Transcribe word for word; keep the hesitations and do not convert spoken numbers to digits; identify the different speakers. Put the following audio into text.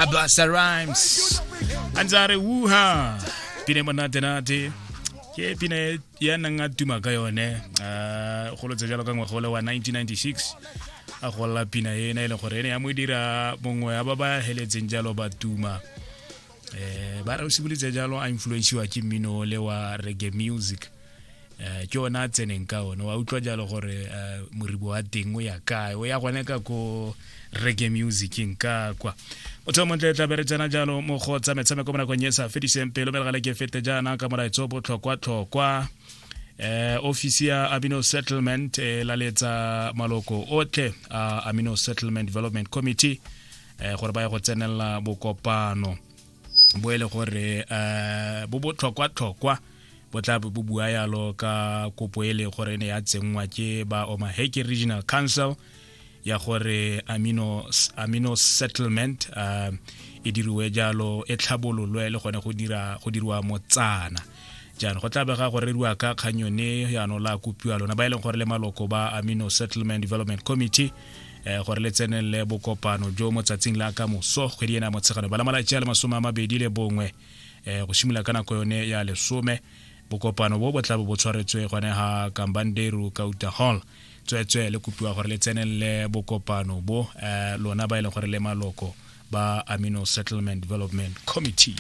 Speaker 1: A Busta Rhymes a ntse a re wuha pine monatenate ke pine ya nang a tuma ka yone um golotse jalo ka ngwaga ole wa nineteen ninety-six a golla pina ena e leng gore ene ya mo dira mongwe ya ba ba heletseng jalo ba tuma. Eh ba re o simolotse jalo a influensiwa ke mmino le wa reggae music. Eh ke ona a tseneng ka one wa utlwa jalo gore moribo wa teng o ya kae, o ya gone ka ko reggae musicing ka kwa. Motho montle tla be re tsena jalo mo go tsa metshameko mo nakong e sa fediseng pelo melegale ke fete jaana ka molaetso botlhokwa-tlhokwa. Eh ofisi ya Amino Settlement e laletsa maloko otlhe a Amino Settlement Development Committee eh gore ba ye go tsenela bokopano bo e le gore eh bo botlhokwa-tlhokwa bo tla bo bua yalo ka kopo e le gore ne ya tsenngwa ke ba Omaheke Regional Council ya gore Amino Amino Settlement uh, e diriwe jalo e tlhabololwe le gone go dira go diriwa motsana. Jaanong go tla bega go reriwa ka kgang yone jaanong la kopiwa lona ba e leng gore le maloko ba Amino Settlement Development Committee eh gore le tsenelele bokopano jo mo tsatsing la ka moso kgwedi ena Motshegano ba la malatsi a le masome a mabedi le bongwe eh go simolola ka nako yone ya lesome. Bokopano bo bo tla bo bo tshwaretswe gone ha Kambanderu Kauta Hall. Tsweetswe le kopiwa gore le tsenelele bokopano bo eh lona ba e leng gore le maloko ba Amino Settlement Development Committee.